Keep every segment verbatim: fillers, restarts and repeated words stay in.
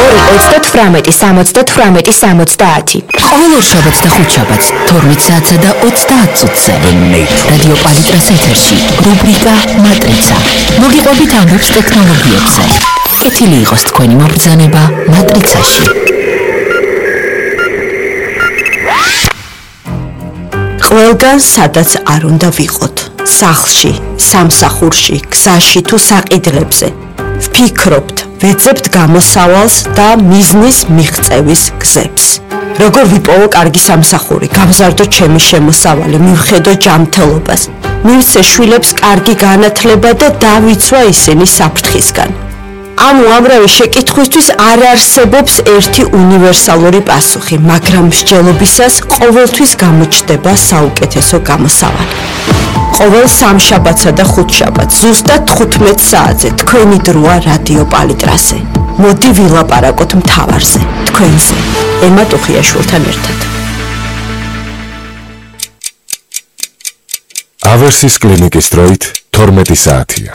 ორი ოცდათვრამეტი სამოცდათვრამეტი სამოცდაათი. ყოველ ორშაბათს და ხუთშაბათს თორმეტ საათსა და ოცდაათ წუთზე რადიო პალიტრას ეთერში რუბრიკა მატრიცა. მოგიყვებით ამბებს ტექნოლოგიებზე. კეთილი იყოს თქვენი მობრძანება მატრიცაში. ყველგან სადაც არ უნდა ვიყოთ, სახლში, სამსახურში, გზაში თუ საყიდლებზე. ვფიქრობთ, ვეძებთ გამოსავალს და მიზნის მიღწევის გზებს. როგორ ვიპოვო კარგი სამსახური, გავზარდო ჩემი შემოსავალი, მივხედო ჯანმრთელობას, მივცე შვილებს კარგი განათლება და დავიცვა ისინი საფრთხისგან. ამ უამრავი შეკითხვისთვის არ არსებობს ერთი უნივერსალური პასუხი, მაგრამ მსჯელობისას ყოველთვის გამოჩნდება საუკეთესო გამოსავალი. ყოველ სამშაბათსა და ხუთშაბათს ზუსტად თხუთმეტ საათზე თქვენი დროა რადიო პალიტრაზე. მოდი ვილაპარაკოთ მთავარზე, თქვენზე, ემა ტუხიაშვილთან ერთად. ავერსის კლინიკის დროით თორმეტი საათია.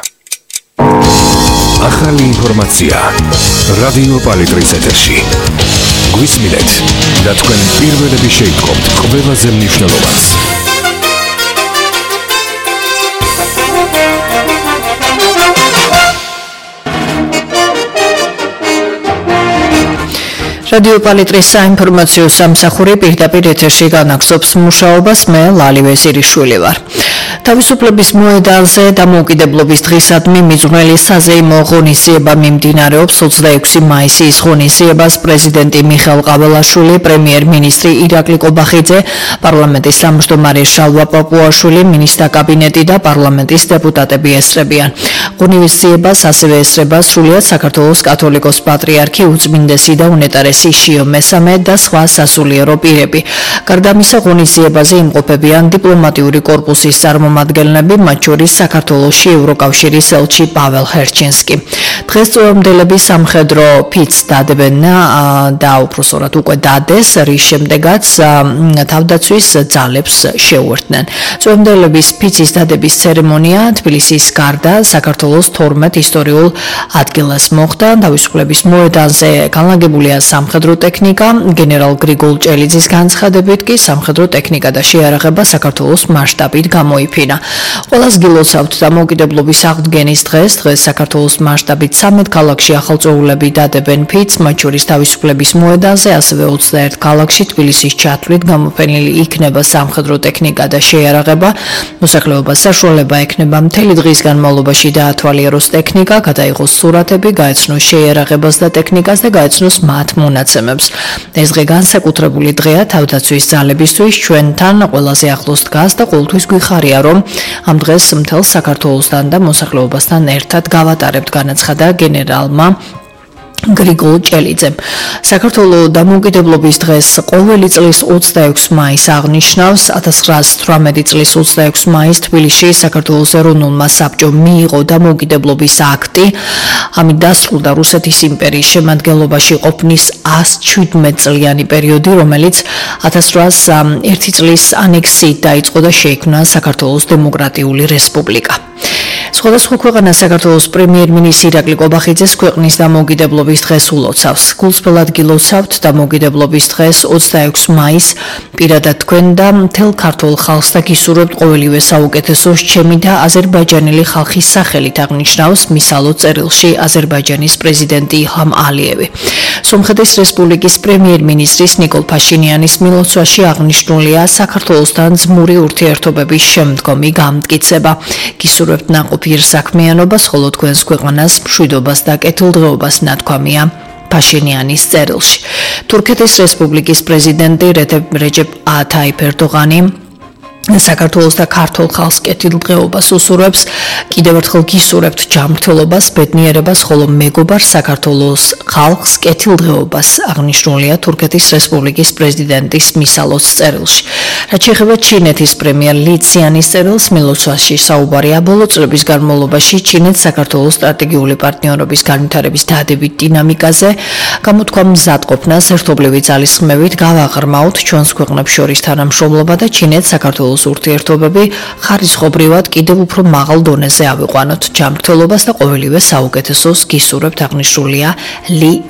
ახალი ინფორმაცია რადიო პალიტრის ეთერში. გვისმინეთ და თქვენ პირველები შეიტყობთ ყველაზე მნიშვნელოვანს. რადიო პალიტრის საინფორმაციო სამსახური პირდაპირ ეთერში განაგზობს მუშაობას. მე ლალი ვეზირიშვილი ვარ. თავისუფლების მოედანზე დამოუკიდებლობის დღისადმი მიძღვნილი საზეიმო ღონისძიება მიმდინარეობს. ოცდაექვსი მაისის ღონისძიებას პრეზიდენტი მიხეილ ყაველაშვილი, პრემიერ-მინისტრი ირაკლი კობახიძე, პარლამენტის თავმჯდომარე შალვა პაპუაშვილი, მინისტრთა კაბინეტი და პარლამენტის დეპუტატები ესწრებიან. ღონისძიებას ასევე ესწრება სრულიად საქართველოს კათოლიკოს პატრიარქი, უწმინდესი და უნეტარესი შიო მესამე და სხვა სასულიერო პირები. გარდა ამისა, ღონისძიებაზე იმყოფებიან დიპლომატიური კორპუსის წარმომადგენლები, მათ შორის საქართველოში ევროკავშირის ელჩი პაվել ჰერჩინსკი. დღეს წვეომდელები სამხედრო ფიცს დადებენ და უпроსორად უკვე დადეს, რის შემდეგაც თავდაცვის ძალებს შეუერთდნენ. წვეომდელების ფიცის დადების ცერემონია თბილისის გარდა საქართველოს თორმეტ ისტორიულ ადგილას მოხდა. თავისუფლების მოედანზე განლაგებულია სამხედრო ტექნიკა, გენერალ გრიგოლ ჭელიძის განცხადებით კი სამხედრო ტექნიკა და შეიარაღება საქართველოს მასშტაბით გამოიფინა. ყველას გილოცავთ დამოუკიდებლობის აღდგენის დღეს. დღეს საქართველოს მასშტაბით ცამეტ ქალაქში ახალწეულები დადებენ ფიცს, მათ შორის თავისუფლების მოედანზე, ასევე ოცდაერთ ქალაქში თბილისის ჩათვლით გამოფენილი იქნება სამხედრო ტექნიკა და შეიარაღება. მოსახლეობას საშუალება ექნება მთელი დღის განმავლობაში დაათვალიეროს ტექნიკა, გადაიღოს სურათები, გაეცნოს შეიარაღებას და ტექნიკას და გაეცნოს მათ მონაცემებს. ეს დღე განსაკუთრებული დღეა თავდაცვის ძალებისთვის. ჩვენთან ყველაზე ახლოს დგას და ყოველთვის გვიხარია, რომ ამ დღეს მთელ საქართველოსთან და მოსახლეობასთან ერთად გავატარებთ, განაცხადა გენერალმა გრიგოლ ჭელიძემ. საქართველოს დამოუკიდებლობის დღეს ყოველი წლის ოცდაექვსი მაისს აღნიშნავს. ათას ცხრაასი თვრამეტი წლის ოცდაექვსი მაისს თბილისში საქართველოს ეროვნულმა საბჭომ მიიღო დამოუკიდებლობის აქტი. ამით დასრულდა რუსეთის იმპერიის შემადგენლობაში ყოფნის ას შვიდმეტ წლიანი პერიოდი, რომელიც ათას ცხრაასი ერთი წლის ანექსიით დაიწყო და შეიქმნა საქართველოს დემოკრატიული რესპუბლიკა. სხვადასხვა ქვეყანა საქართველოს პრემიერ-მინისტრი ირაკლი კობახიძეს ქვეყნის დამოუკიდებლობის დღეს ულოცავს. გულწრფელად გილოცავთ დამოუკიდებლობის დღეს ოცდაექვსი მაისს. პირადად თქვენ და მთელ ქართულ ხალხს და გისურვებთ ყოველივე საუკეთესოს. ჩემი და აზერბაიჯანელი ხალხის სახელით აღნიშნავს მისალო წერილში აზერბაიჯანის პრეზიდენტი ილჰამ ალიევი. სომხეთის რესპუბლიკის პრემიერ-მინისტრის ნიკოლ ფაშინიანის მილოცვაში აღნიშნულია საქართველოსთან ძმური ურთიერთობების შემდგომი გამტკიცება. გისურვებთ ნაყოფიერ საქმიანობას, ხოლო თქვენს ქვეყანას მშვიდობას და კეთილდღეობას, ნათქვამია ფაშინიანის წერილში. თურქეთის რესპუბლიკის პრეზიდენტი რეჯეპ ტაიფ ერდოღანი საქართველოს და ქართულ ხალხს კეთილდღეობას უსურვებს. კიდევ ერთხელ გისურვებთ ჯანმრთელობას, ბედნიერებას, ხოლო მეგობარ საქართველოს ხალხს კეთილდღეობას, აღნიშნულია თურქეთის რესპუბლიკის პრეზიდენტის მისალოს წერილში. რაც შეეხება ჩინეთის პრემიერ ალი ციანის წერილს, მილოცვაში საუბარია ბოლო წლების განმავლობაში ჩინეთს საქართველოს სტრატეგიული პარტნიორობის განვითარების დადებით დინამიკაზე, გამოთქვა მზადყოფნას ერთობლივი ძალისხმევით გავაღრმავთ ჩვენს ქვეყნებს შორის თანამშრომლობა და ჩინეთს საქართველოს ურთიერთობები ხარისხობრივად კიდევ უფრო მაღალ დონეზე ავიყვანოთ. ჯანმრთელობას და ყოველივე საუკეთესოს გისურვებთ, აღნიშნულია ალი